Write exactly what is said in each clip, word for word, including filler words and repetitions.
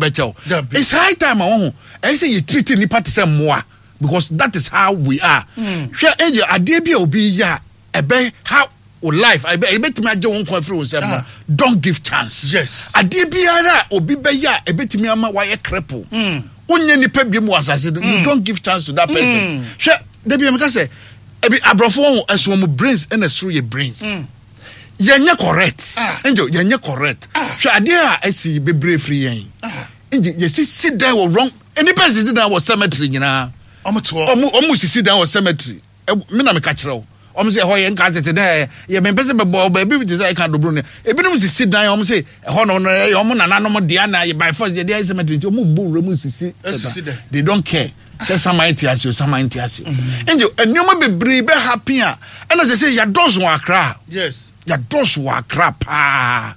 bɛkyɛw. Dabi. It's high time a wɔn ho ɛyɛ sɛ yɛ treat nipa te sɛ mmoa, because that is how we are. Hwɛ, ɛyɛ adeɛ bi a obi yɛ a ɛbɛ ha o life, ɛbɛ ɛbɛtumi agye wɔn nkwa afiri wɔn nsam no, Ah. don't give chance. Yes. Adeɛ biara a obi bɛyɛ a ɛbɛtumi ama wayɛ cripple, wonyɛ nipa bi mu wɔ asase no, you don't give chance to that person. Hwɛ, dabi a meka sɛ ebi aborɔfo wɔn ɛso wɔn brains, ɛna ɛsoro yɛ brains, yɛnyɛ correct. Ah. Angel, yɛnyɛ correct. Ah. Hwɛ, adeɛ a ɛsi bebree firi yɛn. Ah. Angel, yɛsisi dan wɔ wrong, nipa sisi dan wɔ cemetery nyinaa. Ɔmo te hɔ. ɔmo ɔmo sisi dan wɔ cemetery. Ɛ mi na mi ka kyerɛ o, ɔmo sɛ ɛhɔ yɛ nka tete dɛ yɛ mɛ mpɛsɛ bɛbɔ baabi te sɛ ɛka dobro ne ebinom sisi dan. Ɔmo sɛ ɛhɔ no no ɛyɛ ɔmo nananom dea na yɛ by force yɛ de ayɛ cemetery, nti ɔmo bu wura mu sisi. Esisi dan. They don't care sɛ saman te ase o, saman te ase o. Nti nneɛma bebree bɛ happen a ɛna sɛ sɛ yɛdɔɔso wɔ Akra. Yes yɛdɔɔso wɔ Akra paa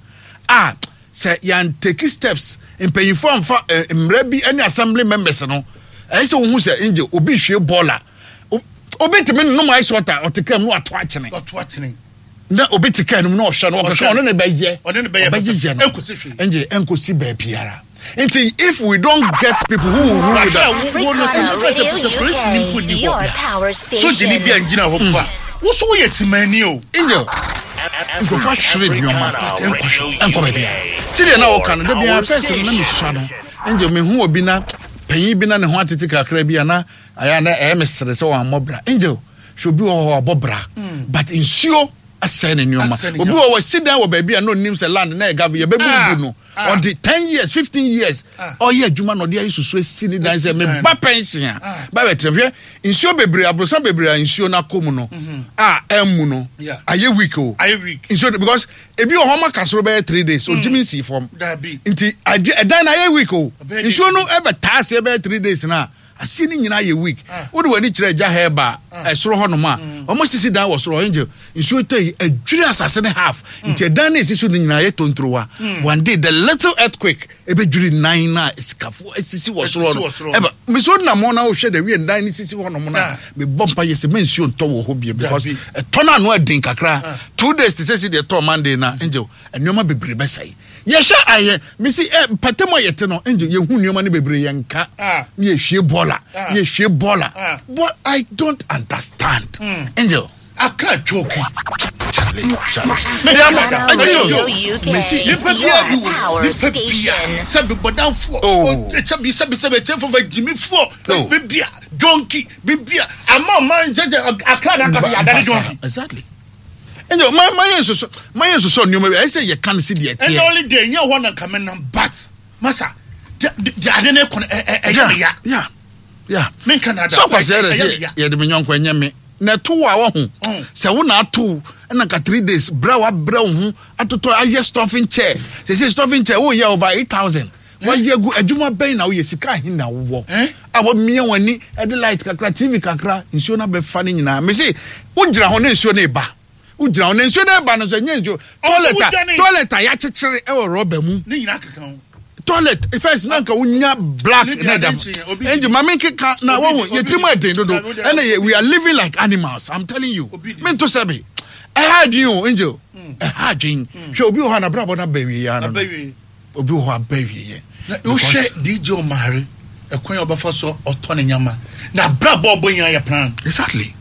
a sɛ yɛn take steps, mpanyinfoɔ amfa ɛ, mmerɛ bi ne assembly members no, ɛyɛ sɛ wohu sɛ ngye obi hwie bɔɔla, obi tumi nom ice water, ɔte kaa mu na wato akyene. Ɔto atene. Na obi te kaa no mu na ɔhwɛ no, ɔkeka ɔno ne bɛyɛ. Ɔne ne bɛyɛ. Ɔbɛyɛ yɛ no. Ɛnkɔsi hwee. Ngye ɛnkosi baabiara. Nti if we don't get people who will rule with us. Wo no sɛ Africana sɛ Radio sɛ polisi ni mpo U K, ni hɔ. your power station. Sogyani bi a ngyina hɔ mpo a, wo so woyɛ timani o. Angel, nkurɔfoɔ ahwere nneɛma ɛnkɔ baabiara sɛdeɛ na wɔka no da biara. First no na mesua no, Angel, mehu obi na panyin bi na ne ho atete kakra bi a na ayɛ na ɛyɛ me sere sɛ wɔammɔ bra. Angel, hwɛ, obi wɔ hɔ a ɔbɔ bra, but nsuo asɛe ne nneɛma. Asɛe ne Obi nneɛma. wɔ wɔ si dan wɔ baabi a na onim sɛ land na ɛga yɛbɛbubu no. Ah. Ɔde ten years, fifteen years Ah. ɔyɛ adwuma na ɔde ayɛ susu esi ne dan sɛ Esi dan. meba pension a Ah. ba bɛtena. Hwɛ, nsuo bebree, aborosan bebree a nsuo no akɔ mu no a ɛmmu no, Yeah. ayɛ weak o. Ayɛ weak. Nsuo no, because ebi wɔ hɔ ma kasoro bɛyɛ three days, ontumi nsi fam. Dabi. Nti ade ɛdan na ayɛ weak o. Ɔbɛyɛ Nsuo no ɛbɛtaa aseɛ bɛyɛ three days na aseɛ no nyinaa yɛ weak. Ah. Wode w'ani kyerɛ agya hɛba ɛsoro hɔ nom a wɔn sisi dan wɔ soro. Angel, nsuo tɔ yi adwiri asase ne half, nti ɛdan no esi so no nyinaa yɛ tontorowa. One day, the little earthquake ebɛdwiri nan na sikafoɔ esisi wɔ soro Esisi hɔ no. wɔ soro. Ɛbɛ nsuo nam hɔ na wohwɛ de wie dan no sisi hɔ nom na Ah. mebɔ mpa yɛ sɛ mɛ nsuo ntɔ wɔ hɔ bie, because Dabi. ɛtɔ no ano ɛden kakra. Ah. Two days te sɛ si deɛ ɛtɔ Monday na, Angel, nneɛma bebree bɛsɛe. Yɛhwɛ ayɛ mesi ɛ mpɛtɛm a yɛte no, Angel, yɛhu nneɛma no bebree yɛnka Ah. ne yɛhwie bɔɔla. Ah. Yɛhwie bɔɔla. Ah. But I don't understand, Angel. Akra choke. Charlie, Charlie. Africana Radio U K, Messi- Nipa bia bi your wɔ power nipa bia station. sɛbi bɔdanfoɔ. Oh. Sɛbi sɛbi sɛbi ɛkyɛnfo fɛ gyimifoɔ. Oh. Bibia donkey bibia ama ɔman sɛsɛ Akra na akasa yadane donkey. Exactly, Angel, ma ma yɛ nsoso ma yɛ nsoso nneɛma bi ɛyɛ sɛ yɛka no si deɛ ɛnna teɛ. Only day nyɛ hɔ na nkame nam, but masa de de ade ne kɔ no ɛ ɛ ɛyɛ mi ya. yeah yeah Menka na ada. Sɛ ɔkwasɛ yɛrɛ Ɛyɛ mi ya. sɛ yɛde me nyɔnko ɛnyɛ me na ɛto wo a wahu Mm. sɛ wo na ato ɛna nka three days brɛ a wabrɛ wo ho atotɔ ayɛ stuffing chair. Sɛ sɛ stuffing chair woyɛ over eight thousand, wayɛ gu adwuma bɛn na woyɛ, sika ahe na wowɔ Eh? a wɔmia wɔn ani ɛde light kakra, T V kakra, nsuo no abɛfa no nyinaa. Mesi wogyina hɔ na nsuo no eba, wogyina hɔ na nsuo no eba no so ɛnyɛ nsuo toilet a wodwane. Toilet a yɛakyekyere ɛwɔ rɔba mu. Ne nyinaa keka ho. Toilet first na nka wonya black Ne deɛ na ɛda ade nkyɛn, obi ɛnti di. maame nkeka na Obi wɔhu di, yɛ tirim obi di. ɛden dodo. Obi di. Ɛna yɛ we are living like animals, I'm telling you. Obi di. Mento sɛbi ɛha adwene o, Angel, ɛha adwene. Hwɛ, obi wɔ hɔ a n'abrabɔ no aba awie yɛ ano no. Abɛwie. Obi wɔ hɔ aba awie yɛ. Na wohwɛ D J Omare, ɛkwan a ɔbɛfa so ɔtɔ ne nyama na abrabɔ ɔbɔ nyinaa yɛ plan. Exactly,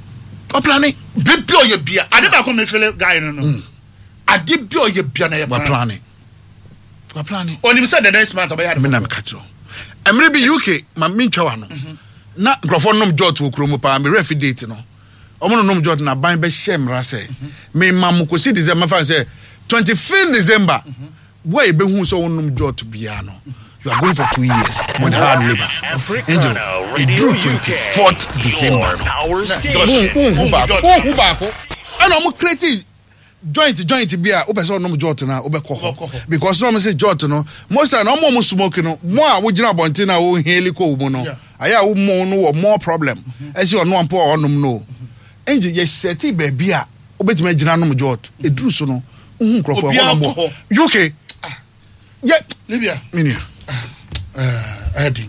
ɔ plan. Bibi ɔyɛ bia ade baako mi fele guy no no ade bi ɔyɛ bia na yɛ plan. Wa plan, wa plan. Onim sɛ the next month ɔbɛyɛ ade. Me na meka kyerɛ wo. Mmerɛ bi U K ma mentwa wa no na nkurɔfoɔ nom jot wɔ kurom paa. Merɛ fi date no, ɔmo no nom jot na ban bɛhyɛ mmara sɛ mema mo kɔsi December, fa sɛ twenty-fifth December, wo a yɛbɛhu sɛ wonom jot biara no, you are going for two years with hard labour. Angel, ɛduru twenty-fourth December no, wonhu baako, wonhu baako. Ɛna ɔmo create joint joint bi a wopɛ sɛ ɔnom jot no a wobɛkɔ Wobɛkɔ hɔ hɔ. Because na ɔmo sɛ jot no, most time na ɔmo a ɔmo smoke no, mo a wogyina abɔnten na woheli kɔ wo mu no, Yeah. ayɛ a wo no wɔ more problem ɛsɛ ɔno ampo a ɔnom no. Ɛnti yɛsɛte baabi a wobɛtumi agyina nom jot. Ɛduru so no, wohu nkurɔfoɔ Obiara ɛhɔ nom kɔ wɔ U K yɛ Libya. Menua. Ɛɛdi.